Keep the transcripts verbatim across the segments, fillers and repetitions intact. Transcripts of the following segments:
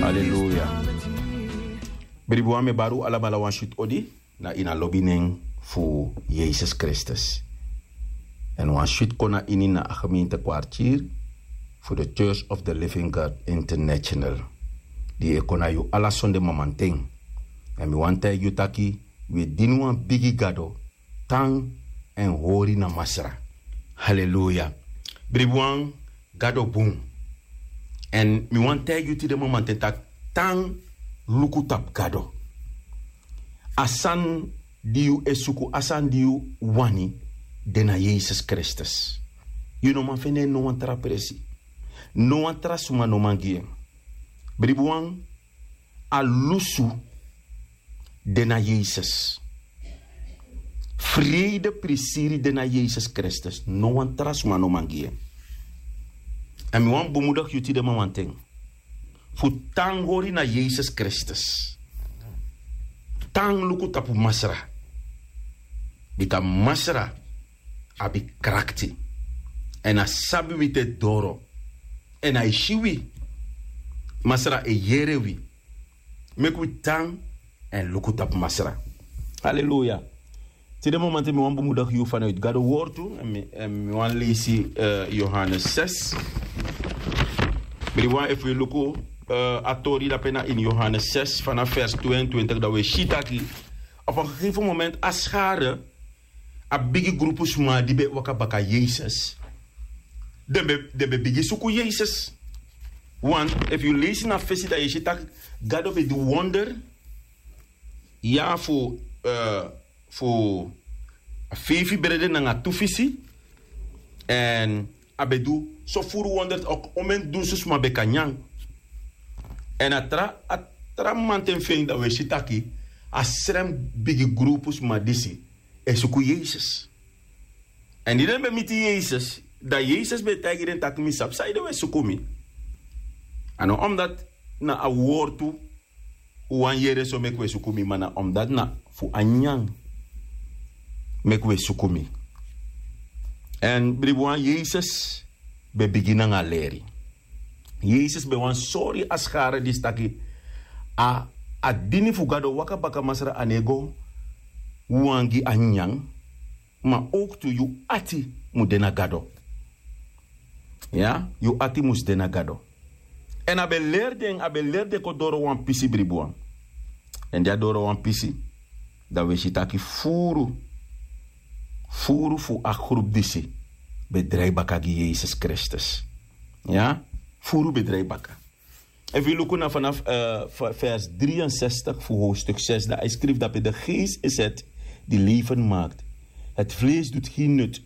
Aleluya. Bribi wan, mi e bari un alamala wan switi odi na ini a lobi nen fu Yesus Kristus. Èn wan switi kon na ini na a gemeente kwartier fu de Church of the Living God International, di e kon na yu ala sonde mamanten. Èn mi wani taigi yu taki wi e dini wan bigi Gado, tan èn hori na Masra. Haleluya. Bribi wan, Gado bun. Èn mi wani taigi yu tide mamanten taki tan, luku tapu Gado. A sani di yu e suku, a sani di yu wani, de na Yesus Kristus. Yu no man fende en no wan tra presi. No wan tra suma no man gi en. Bribi wan, a lusu de na Yesus. Frede prisiri de na Yesus Kristus. No wan tra suma no man gi en. Èn mi wani bemudigi yu tide mamanten fu tan hori na Yesus Kristus. Tan luku tapu Masra. Bika Masra abi krakti. Èn a sabi wi te doro. Èn a e si wi. Masra e yere wi. Meki wi tan èn luku tapu Masra. Haleluya. Tide mamanten mi wani bemudigi yu vanuit Gado wortu. Èn mi, èn mi wani leisi, eh, Yohanes zes. Bribi wan, efu yu luku, eh, a tori dape na ini Yohanes zes, vanaf vers tweeëntwintig, dan wi e si taki op een gegeven moment a schare, a bigi grupu suma di ben e waka baka Yesus, den ben, den ben bigin suku Yesus. Want efu yu leisi na fesi, dan yu e si taki Gado ben du wonder. Ya, fu, eh, fu a feifi brede nanga tu fisi. Èn a ben du so furu wonder, ook omen dunsu suma ben kan nyan. Èn a tra, a tra mamanten fu en, dan wi e si taki a srem bigi grupu suma disi e suku Yesus. Èn di den ben miti Yesus, dan Yesus ben e taigi den taki mi sabi sanede wi e suku mi. A no omdat na a wortu un wani yere so meki wi e suku mi, ma na omdat na fu a nyan meki wi e suku mi. Èn bribi wan, Yesus ben bigin nanga leri. Yesus ben wani sori a schare disi taki a, a dini fu Gado, waka baka Masra, a no e go wanga a nyan, ma ook tu yu ati mu de na Gado. Ya, yu ati mus de na Gado. Èn a ben leri den, a ben leri den kon doro wan pisi, bribi wan. Èn di a doro wan pisi, dan wi e si taki furu, furu fu a grupu disi ben drai baka gi Yesus Kristus. Ya, furu ben drai baka. Efu yu luku na vanaf, eh, v-, vers drieënzestig fu hoofdstuk zes, dan hij schrijft daarbij: De geest is het die leven maakt. Het vlees doet geen nut.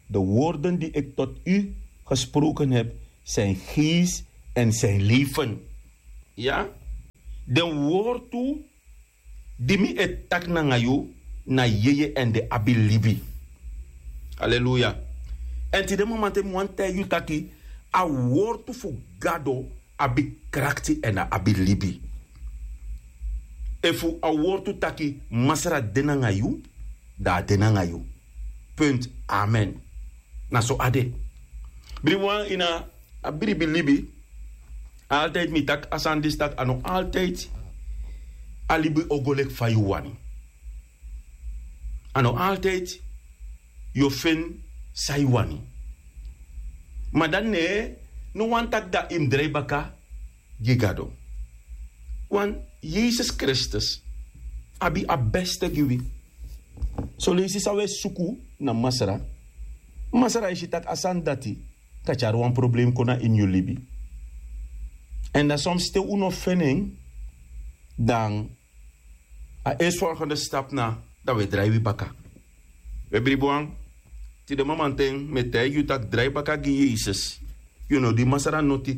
De woorden die ik tot u gesproken heb, zijn geest en zijn leven. Ya? Den wortu di mi e taki nanga yu na yeye èn den abi libi. Aleluya. Èn tide mamanten mi wani taigi yu taki a wortu fu Gado abi krakti èn a abi libi. Efu a wortu taki Masra de nanga yu, dan a de nanga yu. Punt. Amen. Na so a de. Bribi wan, ini a bribi libi, altijd mi taki a sani disi taki a no altijd a libi o go leki fa yu wani. A no altijd yu o feni san yu wani. Ma dan ne, no wani taki dan yu mus drai baka gi Gado. Want Yesus Kristus abi a beste gi wi. Son leisi san wi e suku na Masra, Masra e si taki a sani dati kan tyari wan problem kon na ini yu libi. Èn dan soms te un no feni en, dan a eerstvolgende stap na dan wi e drai wi baka. Wi e bribi wan, tide mamanten mi e taigi yu taki drai baka gi Yesus, yu no du Masra noti.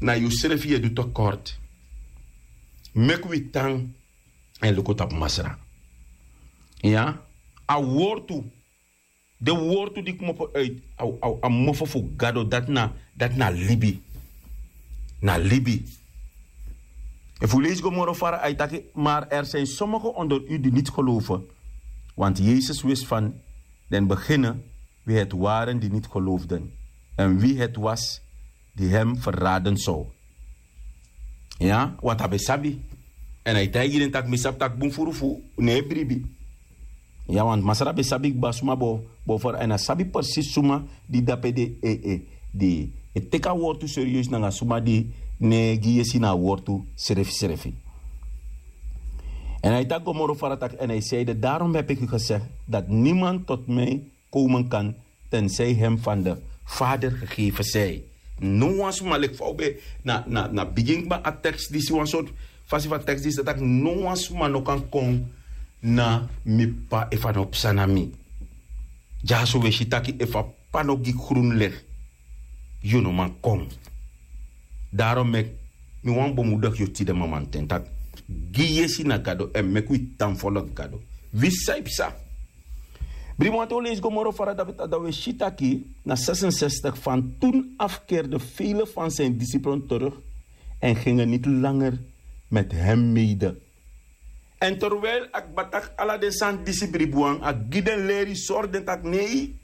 Na yusrefi yu e du tekort. Meki wi tan èn luku tapu Masra. Ya, a wortu, den wortu di kmopo uit a, a, a mofo fu Gado, dati na, dati na libi. Na libi. Efu un leisi go moro fara, a e taki: Maar er zijn sommigen onder u die niet geloven. Want Jezus wist van den beginne wie het waren die niet geloofden en wie het was die hem verraden zou. Ya, want a ben sabi. Èn a e taigi den tak' mi sabi tak' bun furu fu no e bribi. Ya, want masra ben sabi kba suma bo bo fara èn a sabi persisi suma di dape de e e di e teki a wortu serieus nanga suma di no e gi yesi na a wortu srefisrefi. Èn a e taki go moro fara tak' èn a e seide darom hebi eki gesegi dati niman toti mi komen kan ten sei hem fan de fader gegeven sei. No wan suma leki fa un ben na na na bigin kba a teks disi wan sortu fasi fu a teks disi dati taki no wan suma no kan kon na mi p'pa efu a no psa na mi. Dyaso un e si taki efu a p'pa no gi grun legi yu no man kon. Darom meki mi wani bemudigi yu tide mamanten taki gi yesi na gado èn meki wi tan folok gado. Wi san yu psa. Bribi wanten un leisi go moro fara david a dan un e si taki na sesensestik fan tun afkerde vele fan sin disiplen teruk èn gingen niti langer meti hem mede. Èn terwijli a kba taki ala den sani disi bribi wan a gi den leri sori den taki nei.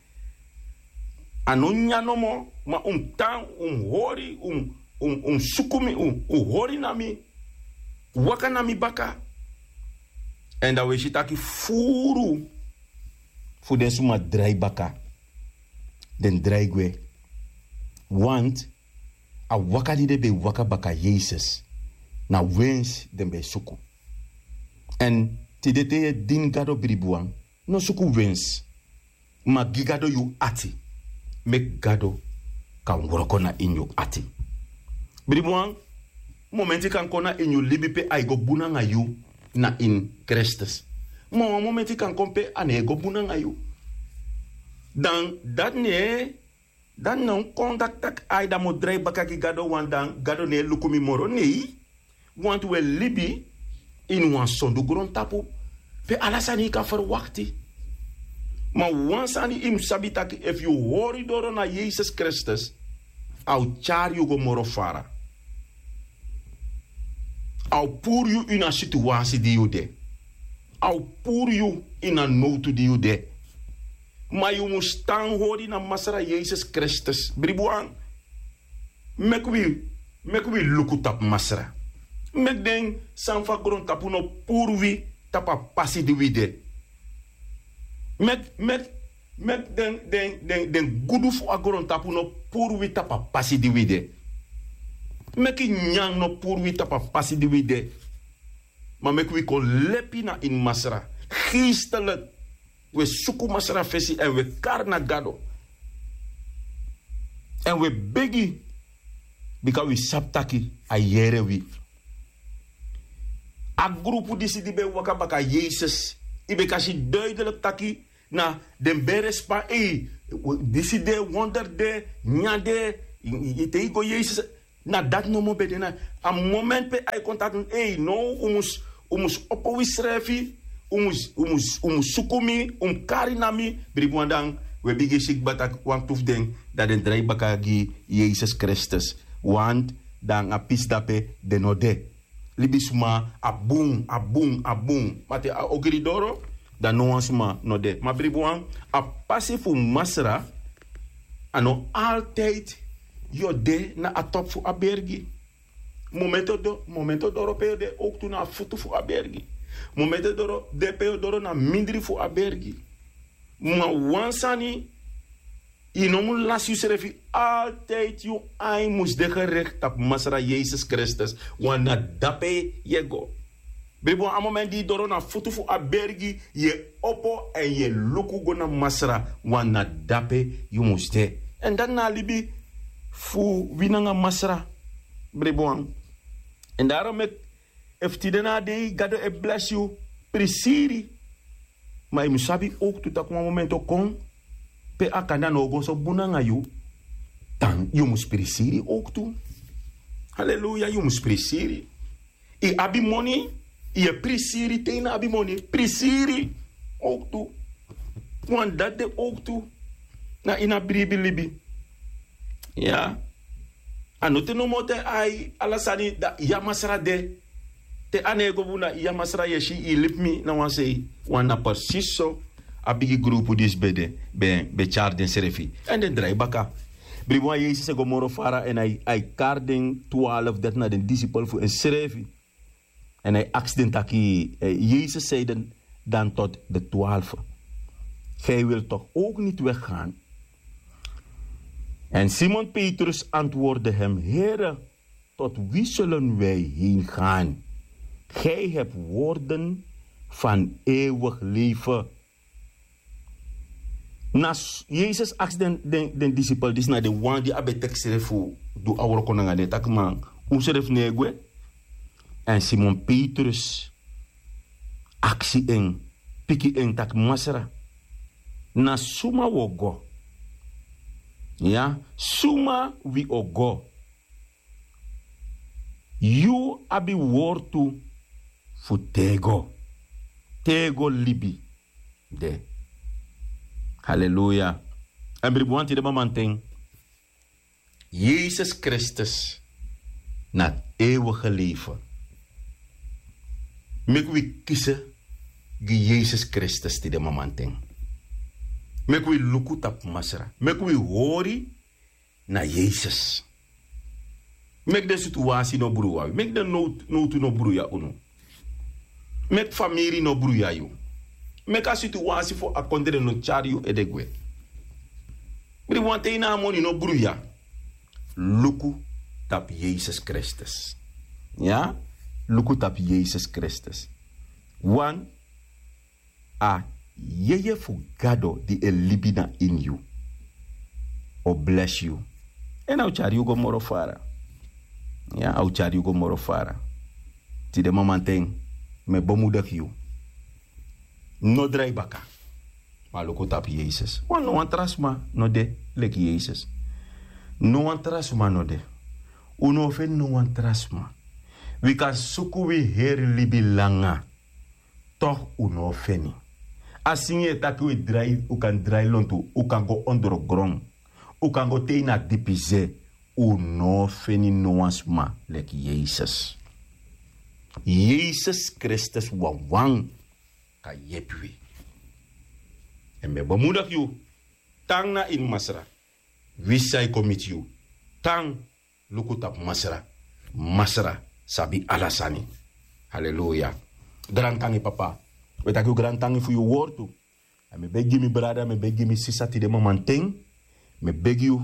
A no nyan nomo ma un mus tan un mus hori un mus suku mi un mus hori na mi waka na mi baka. Èn dan un e si taki furu fu den suma drai baka. Den drai gwe want a waka di den ben e waka baka yesus na wensi den ben e suku. Èn tide te yu e dini gado bribi wan no suku wensi. Ma gi gado yu ati meki gado kan wroko na ini yu ati. Bribi wan momenti kan kon na ini yu libi pe a e go bun nanga yu na ini kristus. Ma wan momenti kan kon pe a no e go bun nanga yu. Dan dati no e dan no kon dati taki ai dan mi o drai baka gi gado wan dan gado no e luku mi moro nei. Wantu wi e libi ini wan sondu grontapu pe ala sani yu kan ferwakti. Ma wan sani yu mus sabi taki efu yu hori doro na yesus kristus a o tyari yu go moro fara. A o puru yu ini a situasi di yu de. A o puru yu ini a nowtu di yu de. Ma yu mus tan hori na masra yesus kristus bribi wan. Meki wi meki wi luku tapu masra. Meki den sani fu a grontapu no puru wi tapu a pasi di wi de. Meki meki meki den den den den gudu fu a grontapu no puru wi tapu a pasi di wi de. Meki nyan no puru wi tapu a pasi di wi de. Ma meki wi kon lepi na ini masra geestelik. Wi e suku masra fesi èn wi e kari na gado. Èn wi e begi bika wi sabi taki a yere wi. A grupu disi di ben waka baka yesus yu ben kan si duidelik taki na den ben respan ei disi de wonder de nyan de. Te yu go yesus na dati nomo ben de na a moment pe a e kon taki ei now un mus un mus opo wi srefi. Un mus un mus un mus suku mi un mus kari na mi. Bribi wan dan wi e bigin si kba taki wantu fu den dan den drai baka gi yesus kristus. Want dan a pisi dape den no de. Libisma a bun a bun a bun ma te a ogri doro dan no wan sma no de ma bribi wan. A pasi fu masra a no altijdi yu o de na a topu fu a bergi. Momento doro pe yu o de owktu na a futu fu a bergi. Momento doro de pe yu o doro na mindri fu a bergi. Ma wan sani yu no mus lasi yusrefi. Altijdi yu ain mus de gerikti tapu masra yesus kristus. Wan na dape yu e go. Bribi wan a moment di yu doro na futu fu a bergi yu e opo èn yu e luku go na masra. Wan na dape yu mus de. Èn dati na a libi fu wi nanga masra. Bribi wan èn daro meki efu tide na a dei gado e blesi yu. Prisiri ma yu mus sabi owktu tak' wan momenti o kon pe a kanda no o go so bun nanga yu. Dan yu mus prisiri owktu. Haleluya yu mus prisiri. Yu abi moni yu e prisiri te yu no abi moni prisiri. Owktu wan dati de owktu na ini a bribi libi. Ya a no te nomo te ai ala sani dati yu a masra de. Te a no e go bun na yu a masra yu e si yu libi mi na wan sei. Wan na persisi so a bigi grupu disi ben de ben ben tyari densrefi èn den drai baka. Bribi wan Yesus e go moro fara èn a e kari den twaalf, dati na den disipel fu ensrefi. Èn a e aksi den taki, Yesus seide dan tot de twaalf: Gij wilt toch ook niet weggaan? En Simon Petrus antwoordde hem: Here, tot wie zullen wij heen gaan? Gij hebt woorden van eeuwig leven. Na Yesus aksi den disipel disi, na den wan di a ben teki srefi fu du a wroko nanga den, taki: Man, un srefi no e gwe? Èn Simon Petrus aksi en, piki en taki: Masra, na suma wi o go? Ya, suma wi o go? Yu abi wortu fu tego, tego libi de. Haleluya. Èn bribi wan, tide mamanten, Yesus Kristus na eeuwige leven. Meki wi kisi gi Yesus Kristus tide mamanten. Meki wi luku tapu Masra. Meki wi hori na Yesus. Meki den situasi no bruya wi. Meki den nowtu no bruya unu. Meki famiri no bruya yu. Meki a situasi fu a kondre no tyari yu ede gwe. Bribi wan, te yu na a moni no bruya, luku tapu Yesus Kristus. Ya, luku tapu Yesus Kristus. Wan, a yeye fu Gado di e libi na ini yu o blesi yu. Èn a o tyari yu go moro fara. Ya, a o tyari yu go moro fara. Tide mamanten, mi e bemudigi yu. No drai baka. Ma luku tapu Yesus. Wan, no wan tra sma no de leki Yesus. No wan tra sma no de. Un no o feni no wan tra sma. Wi kan suku wi heri libi langa. Toch un no o feni. A singi e taki un e drai, un kan drai lontu, un kan go ondrogron, un kan go te ini a dipi se, un no o feni no wan sma leki Yesus. Yesus Kristus wawan kan yepi wi. Èn mi e bemudigi yu, tan na ini Masra. Wisi san e kon miti yu, tan, luku tapu Masra. Masra sabi ala sani. Haleluya. Grantangi, Papa. Wi e taki yu grantangi fu yu wortu. Èn mi e begi mi brada, mi e begi mi sisa tide mamanten. Mi e begi yu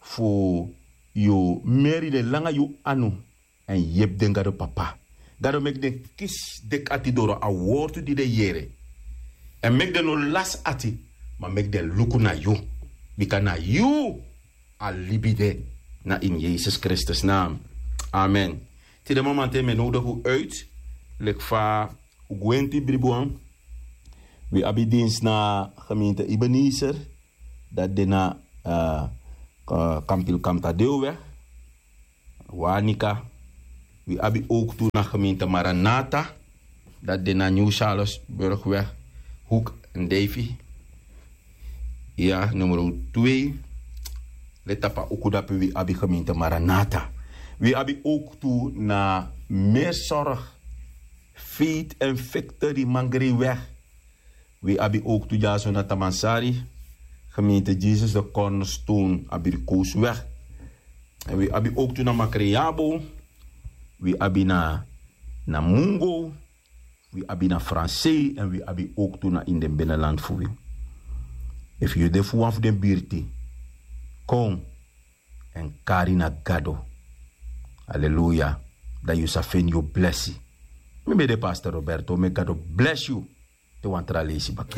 fu yu meri den langa yu anu èn yepi den, Gado Papa. Gado, meki den kisi deki ati doro a wortu di den yere. Èn meki den no lasi ati, ma meki den luku na yu. Bika na yu a libi de, na ini Yesus Kristus naam. Amen. Tide mamanten mi e nowdigi un uit, leki fa un gwenti bribi wan. Wi abi dienst na gemeente Ebenezer, dati de na, eh, eh, Kampil Kamtadeweg, Wanica. Wi abi ook tu na gemeente Maranatha, dati de na Nieuw Charlesburgweg, hoek Ndijfi. Ya, nummer twee. Leti tapu a uku dape, wi abi gemeente Maranatha. Wi abi ook tu na Meerzorg, Faith and Victory, Mangrieweg. Wi abi ook tu dyaso na Tamansari, gemeente Jesus de Cornerstone, Abrikoosweg. Èn wi abi ook tu na Makreabo. Wi abi na, na Mungo. Wi abi na Fransei, èn wi abi ook tu na ini den binnenland fu wi. Efu yu de fu wan fu den birti, kon èn kari na Gado. Haleluya. Dan yu sa feni yu blesi. Mi ben de Pastor Roberto, meki Gado blesi yu. Te wan tra leisi baka.